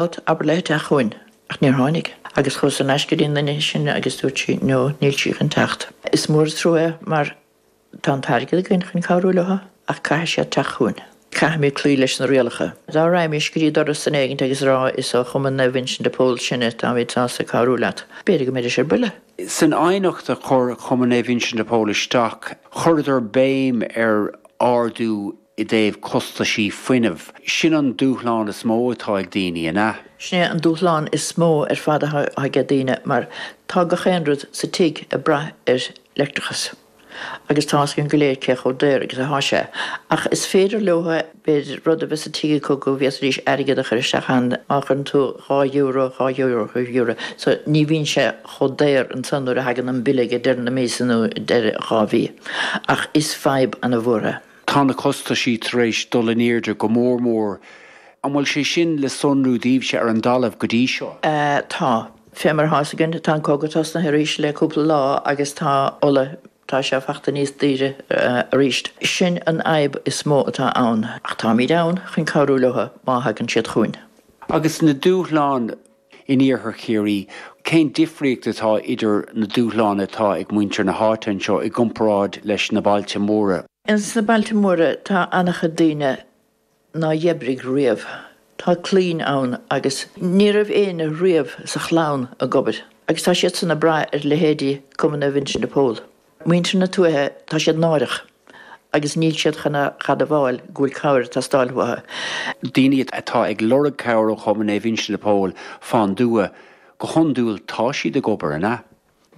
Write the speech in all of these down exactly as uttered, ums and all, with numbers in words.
Abair léi teacht chugainn, ach níor tháinig. Agus chuas thar n-ais go dtí an duine sin agus dúirt sí no, níl sí chun teacht. Is mór an trua é mar tá an t-airgead againn chun cabhrú leo ach caithfidh siad teacht chugainn. Caithfimid cloí leis na rialacha. Dá raghaimís go dtí doras duine éigint agus a rá is ó Chumann Naomh Uinseann de Pól sinne, táimid sásta cabhrú leat, b'fhéidir go mbeidís ar buile. San aighneacht a chuir Cumann Naomh Uinseann de Pól isteach, chuireadar béim ar ardú i dtaobh costaisí fuinnimh. Sin an dúshlán is mó atá ag daoine, an ea? Sin é an dúshlán is mó ar fad atá ag daoine mar tá gach aon rud sa tigh ag brath ar leictreachas agus tá fhios againn go léir cé chomh daor agus atá sé. Ach is féidir leo b'fhéidir rud a bheith sa tigh acu go bhféadfaidís airgead a chur isteach ann má chuireann tú dhá euro, dhá euro, dhá euro. So ní bhíonn sé chomh daor ansan nuair a thagann an bille ag deireadh na míosa nó deireadh dhá mhí. Ach is fadhb ana-mhór é. Tá na costaisí tar éis dul in airde go mór mór. An bhfuil sé sin le sonrú daoibhse ar an dtalamh go dtí seo? Tá. Fé mar atá fhios againn, tá an cogadh tosnaithe arís le cúpla lá agus tá ola, tá sé fachta níos daoire arís. Sin an fhadhb is mó atá ann. Ach táimid ann chun cabhrú leo má thagann siad chugainn. Agus na dúshláin in iarthar Chiarraí, cén difríocht atá idir na dúshláin atá ag muintir na háite anseo i gcomparáid leis na bailte móra? Ins na bailte móra tá an-chuid daoine ná d'oibrigh riamh. Tá clainn ann agus ní raibh éinne riamh sa chlann ag obair agus tá siadsan ag brath ar leithéidí Cumann Naomh Uinseann de Pól. Muintir na tuaithe tá siad náireach agus níl siad chun a admháil go bhfuil cabhair ag teastáil uathu. Daoine atá ag lorg cabhair ó Chumann Naomh Uinseann de Pól fán dtuath, go hiondúil tá siad ag obair, an ea?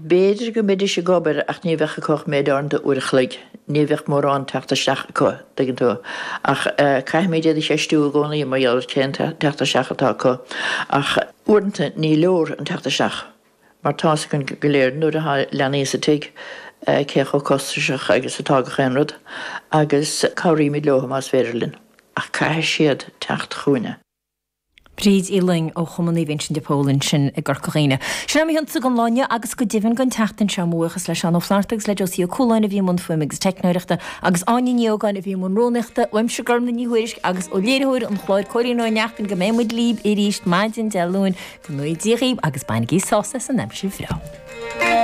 B'fhéidir go mbeidís ag obair ach ní bheadh acu ach méid áirithe uair a chloig. Ní bheadh mórán teacht isteach acu, tuigeann tú. Ach caithfimid iad a cheistiú i gcónaí mar gheall ar cén teacht isteach atá acu. Ach uaireanta ní leor an teacht isteach mar tá fhios againn go léir nuair atá leanaí sa tigh cé chomh costasach agus atá gach aon rud agus cabhraímid leo más féidir linn. Ach caithfidh siad teacht chugainne. Bríd Uí Fhloinn ó Chumann Naomh Uinseann de Pól ansin i gCorca Dhuibhne. Sin é mo chionsa don lá inniu agus go deimhin don tseachtain seo. Mo bhuíochas le Seán Ó Flatharta agus le Josie Ó Cualáin a bhí i mbun fuaime agus teicneoireachta agus Áine Ní Ógáin a bhí i mbun rúnaíochta. Uaimse Gormlaith Ní Thuairisg agus ó léiritheoir an chláir Cóilín Ó Neachtain go mbeidh muid libh arís maidin Dé Luain. Go ngnóthaí Dia dhaoibh agus bainigí sásamh as an aimsir bhreá.